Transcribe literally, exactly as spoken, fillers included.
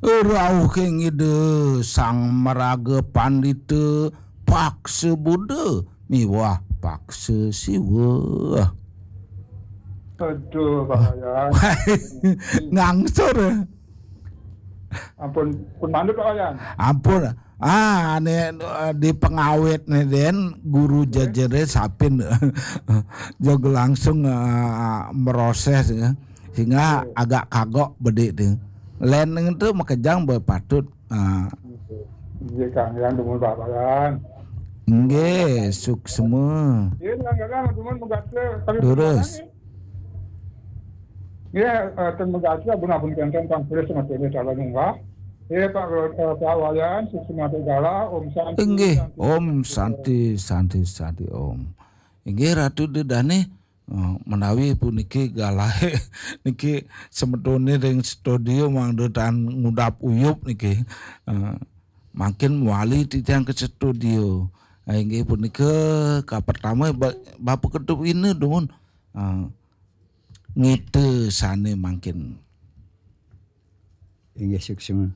Rauhing Ida Sang Maraga Pandita, Paksa Buddha miwah Paksa Siwa. Aduh, Pak Wayan. Ngangsur. Ampun, pun mandut, Pak Wayan. Ampun. Ah, ini, eh, di pengawit nih, Den, guru jajere sapin. Jog langsung, eh, meroses, ya. Sehingga agak kagok bedik tuh. Lain itu makejang berpatut. Ah, Iya, Kang, yang dumun Pak Wayan. Nggih, suksma. Iya, Kang, Kang, dumun megatre. Tapi Durus. Iya, eh, ten megatre, ampun, ampun, kenten, Kang, tulis sama tulis, kalau nyembah. Iya, Pak, eh, Pak Wayan, suksma gala, Om Santi. Nggih, Santi. Om Santi, Santi, Santi, Om. Inggih, Ratu Dedane, eh, menawi puniki galahe niki semetone ring studio mangda tan ngudap uyup niki. Eh, mangkin mewali titiang ke studio. Eh, inggih punika kapertama ba-, Bapak Ketua Ina dumun, eh, ngita sane mangkin. Inggih, suksma.